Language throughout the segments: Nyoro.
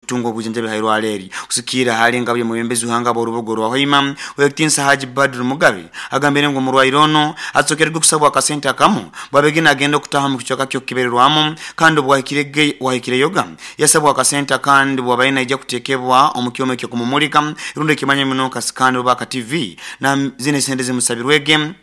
Kutunga obujanjabi hairwaro eri. Kusikiira hali ngabo y'omwebembezi w'ihanga b'orubuga orwa Hoima, Ow'ekitiinisa Haji Badru Mugabe agambire ngu omurwaire onu atsokerwe kusabwa akasente akamu bwabege nagenda okutaha omu kicweka ky'okukebererwamu kandi obwahikireyoga yasabwa akasente akandi bwabaire naija kutekebwa omu kyoma ekyokumumulika rundi ekimanya muno nka scan oba aka TV na zinu esente zimusabirwege.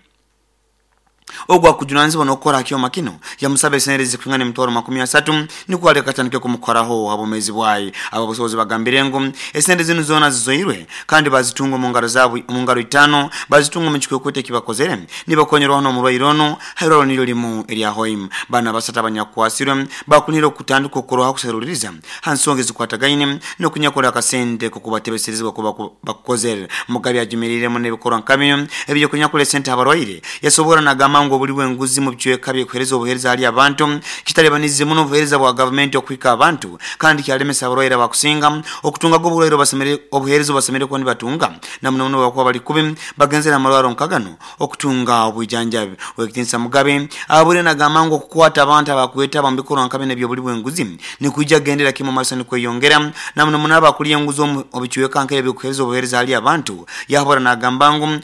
Ogu akujunanizibwa n'okukora ha kyoma kinu yamusaba esente zikwingana emitwaro 30 nukwo aleke atandike kumukoraho ha bwomeezi bwaye. Ababusobozi bagambire ngu esente zinu zoona zizoirwe kandi bazitunga omu ngaro zaabo, omu ngaro itaano bazitunga omu kikwekwete ekibakozere nibakonyerwaho n'omurwaire onu ha irwarro niryo limu erya Hoima. Banu abasatu abanyakukwasirwe bakunire okutandika okukorwaho kuseruliriza ha nsonga ezikwatagaine n'okunyakora akasente k'okubatebeserezibwa kuba bakukozere. Mugabe ajumiriiremu n'ebikorwa nka binu eby'okunyakura esente ha barwaire. Yasobora nagamba ngu obuli bw'enguzi mu bicweka by'okuheereza obuheereza hali abantu kitalibanize muno obuheereza bwa gavumenti okuhika abantu kandi kyalemesa abarwaire abakusinga okutungaga oburwaire obuheereza obubasemeriire kuba nibatunga na muno muno obubakuba bali kubi bagenzere ha marwarro nka ganu okutunga obwijanjabi. Ow'ekitiinisa Mugabe ahabwire nagamba ngu okukwata abantu abakwetaba omu bikorwa nka binu eby'obuli bw'enguzi nikwija kugendera kimu omu maiso nikweyongera na muno muno abakulya enguzi omu bicweka nk'ebi eby'okuheereza obuheereza hali abantu. Yahabura nagamba ngu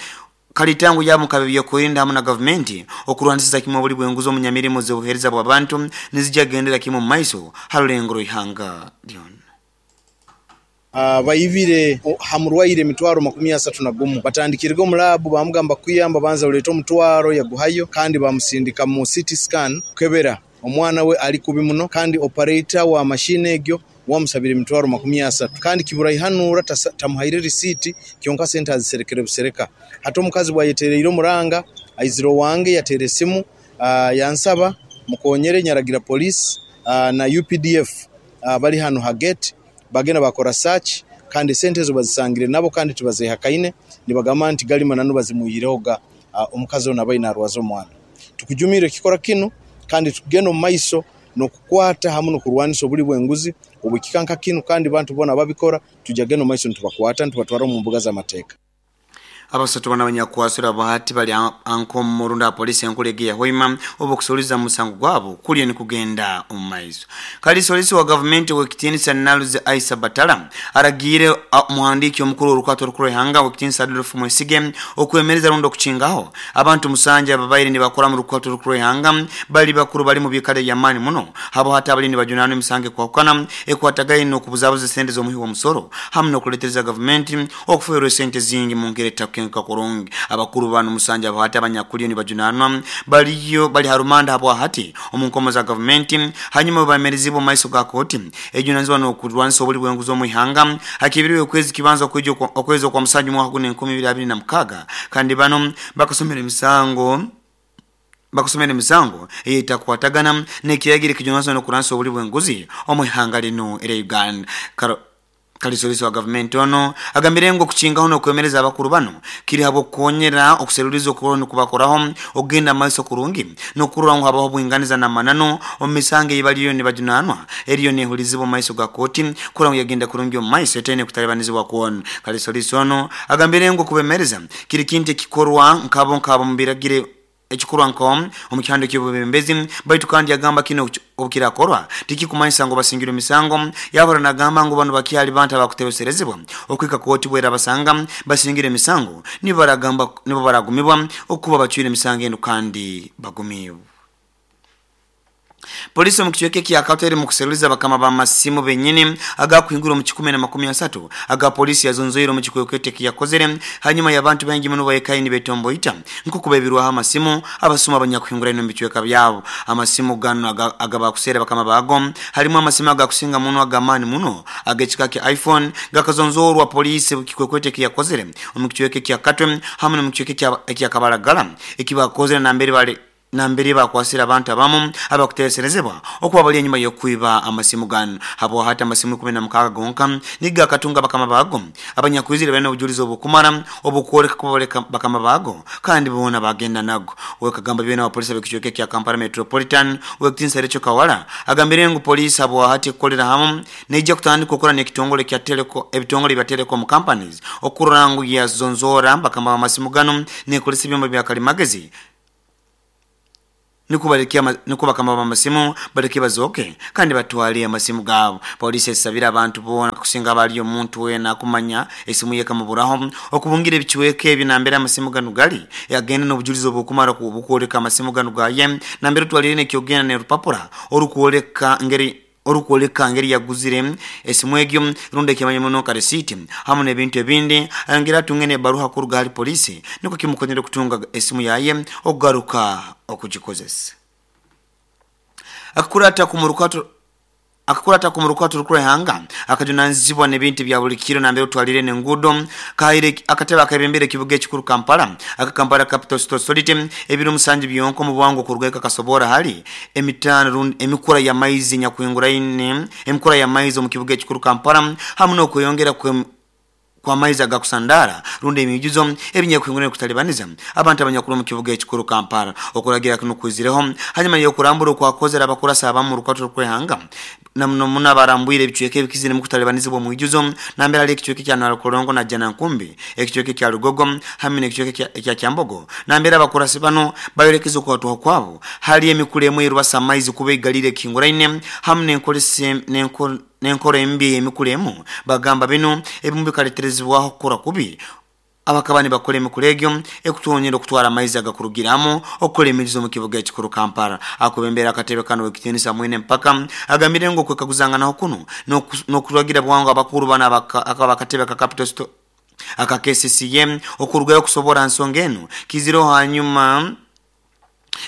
kalitango yabo nk'ab'ebyokwerinda hamu na gavumenti okurwanisiza kimu obuli bw'enguzi omu nyamirimo z'obuheereza bw'abantu nizija kugendera kimu omu maiso ha rulengo rw'ihanga lyona. Baibire ha murwaire emitwaro 31. Batandikirege omu laabu baamugamba kukuyamba banza oleete omutwaro yaguhayo kandi baamusindika mu CT scan kukebera omwana we ali kubi muno kandi operator wa mashini egyo wamusabire emitwaro 30 kandi kiburaihanura tamuhaire risiiti kyonka sente aziserekere busereka. Hati omukazi bwayetereire omuranga aizire owange yateera esimu yansaba mukonyere nyaragira poliisi na UPDF bali hanu ha gate bagenda bakora search kandi esente ezo bazisangire nabo kandi tibazehakaine nibagamba nti gali mananu bazimwihirehoga omukazi onu abaire narwaza omwana. Tukujumirra ekikora kinu kandi tukugenda omu maiso n'okukwata hamu n'okurwanisa obuli bw'enguzi obw'ekika nka kinu kandi bantu boona ababikora tujja kugenda omu maiso nitubakwata nitubatwara omu mbuga z'amateeka. Abasatu banu abanyakukwasirwe abahati bali ankomo rundi aha poliisi enkuru egi eya Hoima obu okusuruliza omu musango gwabo kuriyo nikugenda omu maiso. Kaliisoliiso wa gavumenti ow'ekitiinisa Naluzi Aisa Batala aragiire omuhandiiki omukuru w'orukwata orukuru rw'eihanga ow'ekitiinisa Adolf Mwesige okwemereza rundi okukingaho abantu musanju ababaire nibakora omu rukwata orukuru rw'eihanga bali bakuru bali mu biikaro eby'amaani muno habo hati abaliyo nibajunaanwa emisango ekwahukana ekwatagaine n'okubuzabuza esente z'omuhi w'omusoro hamu n'okuleetereza gavumenti okufeerwa esente zingi mu ngeri etakukenka kurungi. Abakuru banu musanju abo hati abanyakuliyo nibajunaanwa baliyo bali ha rumanda habwahati omu nkomo za gavumenti hanyuma obu baemereziibwe omu maiso ga kooti ejunanizibwa n'okurwanisa obuli bw'enguzi omu ihanga hakibiriwe okwezi kibanza okwija okwezi okwa musanju mwaka guno 2026 kandi banu bakasomera emisango ey'etakukwatagana n'ekiragiro ekijunanizibwa n'okurwanisa obuli bw'enguzi omu ihanga linu erya Uganda. Kaliisoliiso wa gavumenti onu agambire ngu okukingaho n'okwemereza abakuru banu kiri habw'okukonyera okuseruliiriza okuroho nikubakoraho okugenda maiso kurungi n'okurora ngu habaho obwinganiza n'amananu omu misango ei baliyo nibajunaanwa eriyo nehulirizibwa omu maiso ga kooti kurora ngu yagenda kurungi omu maiso etaine kutalibanizibwa kwona. Kaliisoliiso onu agambire ngu okubemereza kiri kintu ekikorwa nkabo nkabo omu biragiro ekikorwa nko omu kihando ky'obwebembezi baitu kandi yagamba kinu obukirakorwa tikikumanyisa ngu basingirwe emisango. Yahura nagamba ngu banu bakyali bantu abakutebeserezibwa okuhika kooti bwerabasanga basingire emisango nibo baragumibwa okuba bacwire emisango enu kandi bagumiibwe. Poliisi omu kicweka ekya Katwe erimu kuseruliza bakama b'amasimu benyini agakuhingura omu 130 aga poliisi yazonzoire omu kikwekweto ekiyakozere hanyuma y'abantu baingi muno baikaire nibetomboita nk'oku baibirweho amasimu abasuma abanyakuhinguraine omu bicweka byabo. Amasimu ganu agabakuseera bakama baago harimu amasimu agakusinga muno ag'amaani muno ag'ekika kya iPhone gakazonzorwa poliisi kikwekweto ekiyakozere omu kicweka ekya Katwe hamu n'omu kicweka ekya Kabalagala ekibakozere nambere bakwasire abantu abamu abakuteeserezebwa okuba bali enyuma y'okwiba amasimu ganu. Habwa hati amasimu 16 gonka nigo akatunga bakama baago abanyakwizire balina obujulizi obukumara obukwoleka kuba bali bakama baago kandi boona bagenda nago. Wekagamba byona abapolisi ab'ekicweka ekya Kampala Metropolitan ow'ekitiinisa Rachel Kawala agambire ngu poliisi habwa hati ekukolera hamu neija kutandika okukora n'ekitongole kya Telco ebitongole bya telecom companies okurora ngu yazonzoora bakama b'amasimu ganu neekozesa ebyoma bya kalimagezi. Nukwo baleke nukwo bakama b'amasimu baleke bazooke kandi batwale amasimu gaabo. Poliisi esabire abantu boona kusinga abali omuntu weena akumanya esimu ye ekamuburaho okubungira ebicweka ebi nambere amasimu ganu gali agende n'obujulizi obukumara obukwoleka amasimu ganu gaye nambere otwalire n'ekyogenda n'erupapura orukwoleka ngeri orukwoleka ngeri yaguzire esimu egyo rundi ekimanya muno nka risiiti hamu n'ebintu ebindi ayongere atunge n'ebaruha kuruga hali poliisi nukwo kimukonyere kutunga esimu yaye okugaruka okugikozesa. Akakurata kumurukato Akakurata kumurukato rukurehanga akajunanizibwa n'ebintu ebya buli kiro nambere otwalire n'enguudo kahaire akatebe akebembere ekibuga ekikuru Kampala aka Kampala Capital City Authority ebiro musanju byonka omu bwangu okuruga eka kasobora hali emitaano rundi emikura y'amaizi enyakwinguraine emikura y'amaizi omu kibuga ekikuru Kampala hamu n'okweyongera kwe kw'amaizi agakusandaara rundi emiijuzo ebinyakwinguraine kutalibaniza abantu abanyakuli omu kibuga ekikuru Kampala. Okuragira kinu kwizireho hanyuma y'okurambura okwakozere abakurasi abamu orukwata orw'ihanga na muno muno abarambwire ebicweka ebikiziremu kutalibanizibwa omwijuzo nambere hali ekicweka ekya Nalukolongo na Najjanankumbi, ekicweka ekya Lugogo hamu n'ekicweka ekya Kyambogo nambere abakurasi banu bayolekeze okwatwaho kwabo hali emikura emu eyerubasa amaizi kuba eigalire ekihinguraine hamu n'enkora embi ey'emikura emu. Bagamba binu ebimu bikaleterezibwaho kukora kubi abakaba nibakora emikura egyo ekutwonyera okutwara amaizi agakurugiramu okukora emijuzo omu kibuga ekikuru Kampala. Akubembera akatebe kanu Owekitinisa Mwine Mpaka agambire ngu okwekaguzanganaho kunu n'okuragira bwangu abakuru banu abakatebe aka Capital City aka KCCA okurugayo kusobora ha nsonga enu kizireho hanyuma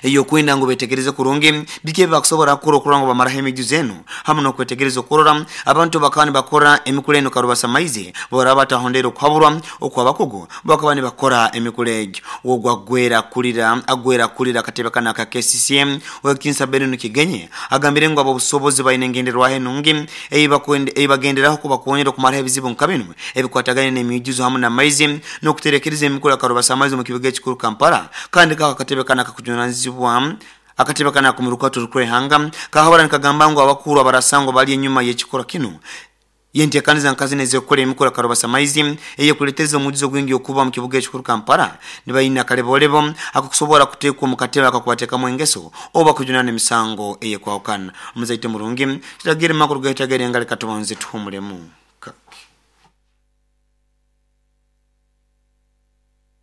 ey'okwenda ngu betegereze kurungi biki ebi bakusobora kukora okurora ngu bamaraho emijuzo enu hamu n'okwetegereza okurora abantu bakaba nibakora emikura enu karubasa maizi boraba batahondere okuhaburwa okw'abakugu bakaba nibakora emikura egyo. Ogu agwera akulira agwera akulira akatebe kanu aka KCCA Owekitinisa Benon Kigenyi agambire ngu ab'obusobozi baine engenderwaho enungi ei bagenderaho kubakonyera okumaraho ebizibu nka binu ebikwatagaine n'emiijuzo hamu n'amaizi n'okuterekereza emikura karubasa amaizi omu kibuga ekikuru Kampala. Kandi kako akatebe kanu akakujunanizibwa akatebe kanu ak'omurukato orukwehanga kahabura nikagamba ngu abakuru abarasangwa bali enyuma y'ekikorwa kinu yentekaniza nka zinu ez'okukora emikura karubasa maizi eyekuleteza omujuzo gwingi okuba omu kibuga ekikuru Kampala nibaine akalebolebo akokusobora kuteekwa omu katebe akakubateekamu engeso oba kujunana emisango eyekwahukana. Omuzaite murungi kiragire makuru gaitagere engali katubanze tuhumulemu kake.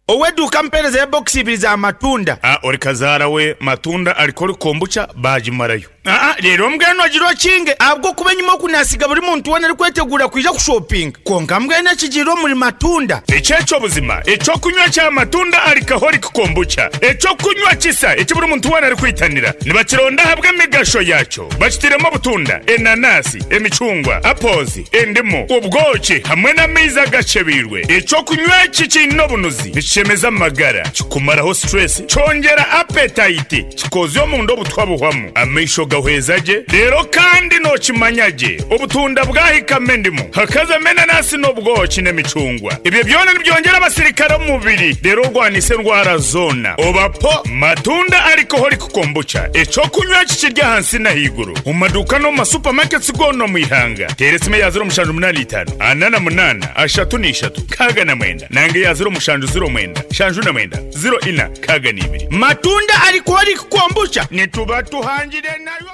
Ow'eduuka mpeereza ya bokisi ibiri za matunda. A Ori kazaara we matunda alcoholic kombucha baagimarayo. Aa Reero mbwenu ogira okinge ahabw'okuba enyima oku naasiga buri muntu weena arikweteguura kwija kushopinga. Kwonka mbwenu ekigiire omuri matunda. Eki eky'obuzima eky'okunywa kya matunda alcoholic kombucha, eky'okunywa kisa eki buri muntu weena arikwitanira. Nibakironda ahabw'emigasho yaakyo. Bakitiremu obutunda, enanasi, emicungwa, apples, endimu, obwoki hamwe n'amaizi agakyebeirwe. Eky'okunywa eki kiine obunuzi, nikishemeza amagara, kikumaraho stress, kyongyera appetite, kikozya omunda obutwa buhwamu, amaisho gahweza gye, reero kandi nookimanya gye obutunda bwahikamu endimu, hakazamu enanasi n'obwoki n'emicungwa. Ebyo byona nibyongyera abasirikare omu mubiri reero orwanise endwara zoona. Oba po Matunda Alcoholic Kombucha, eky'okunywa eki kiri ahansi n'ahaiguru omu maduuka n'omu ma supermarkets goona omu ihanga. Teera esimu eya ziro mushanju munaana itaano ana na munaana ashatu na ishatu nkaaga na mwenda nanga eya ziro mushanju ziro mwenda nshanju na mwenda ziro ina nkaaga na ibiri. Matunda Alcoholic Kombucha nituba tuhangire nayo.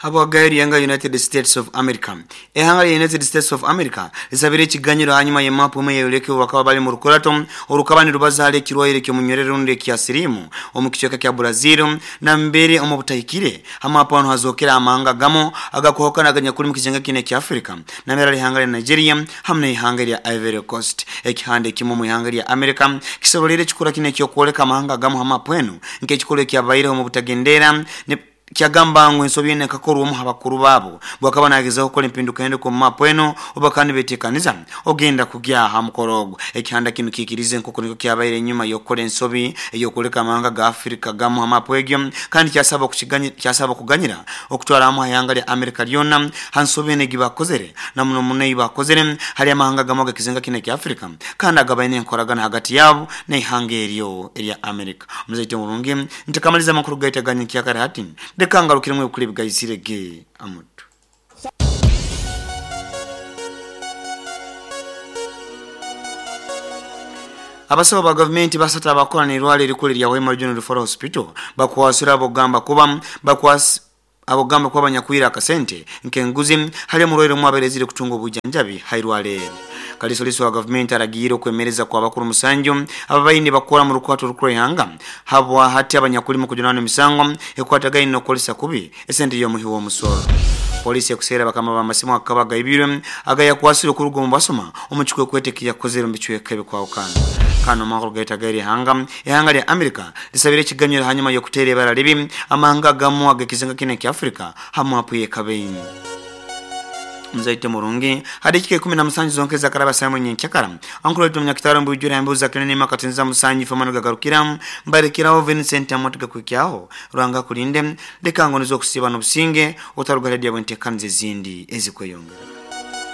Habwagayo erihanga United States of America. Ehanga lya United States of America lisabire ekiganyiro hanyuma y'emaapu emwe eyoleka obu bakaba bali mu rukurato orukaba nirubaza hali ekirwaire ky'omunywerere rundi ekya siriimu omu kicweka kya Brazil nambere omu butahikire ha maapu hanu hazookere amahanga agamu agakwahukana aganyakuli mu kizinga kinu ekya Africa nambere hali ihanga lya Nigeria hamu n'ihanga erya Ivory Coast. Ekihanda ekimu omu ihanga lya America kisoboleire ekikura kinu eky'okwoleka amahanga agamu ha maapu enu nk'ekikorwa ekyabaireho omu butagendeera ne Kyagamba ngu ensobi enu ekakorwa omu ha bakuru baabo bwakaba nagezaho kukora empindukahinduka omu maapu enu obu bakaba nibetekaniza ogenda kugya ha mukoro ogu. Ekihanda kinu kiikirize nk'oku nikwo kyabaire enyuma y'okukora ensobi ey'okwoleka amahanga ga Afirika gamu ha maapu egyo kandi kyasaba kyasaba okuganyira okutwara hamu ha ihanga lya Amerika lyona ha nsobi enu egibakozere na muno muno ei bakozere hali amahanga gamu ag'ekizinga kinu ekya Afirika kandi agabaine enkoragana hagati yabo n'ihanga eryo erya Amerika. Omuzaite omurungi, Ntakamaliza amakuru gaitu aga nyenkyakare hati, leka ngarukiremu ebikuru ebigaizire ge amutwe. Abasawo ba gavumenti basatu abakola n'irwaliro erikulu erya Hoima Regional Referral Hospital bakwasire abogamba kuba bakwasi abogamba kuba banyakwira akasente nk'enguzi hali omurwaire omwe abaire kutunga obujanjabi hairwale. Kalisoliso wa gavumenti aragiire okwemereza kwa bakuru musanju ababaine bakora mu rukwato rukuru ihanga habwa hati abanyakulima kujunana emisango ekwatagaine n'okukolesa kubi esente y'omuhi w'omusoro. Polisi ekuseera bakama b'amasimu akaba gaibirwe agayakwasire okuruga omu basoma omu kikwekwete ekiyakozere omu bicweka ebikwahukana. Kano amakuru gaita gairi ihanga lya Amerika lisabire ekiganyiro hanyuma y'okuteera ibara libi amahanga agamu ag'ekizinga kine ekya Afrika hamu apu y'ekabeini. Muzaite murungi hadikika 17 zonke zakaraba samu nyenchakara ankuru wetu mnyakitaro mbujura mbuza kinene makatinza musanyi famano gagarukira mbarekeraho Vincent amotiga kwikyaho rwanga kulinde leka ngonizo kusiba n'obusinge otarugara dia bwentekanize zindi ezikweyongera.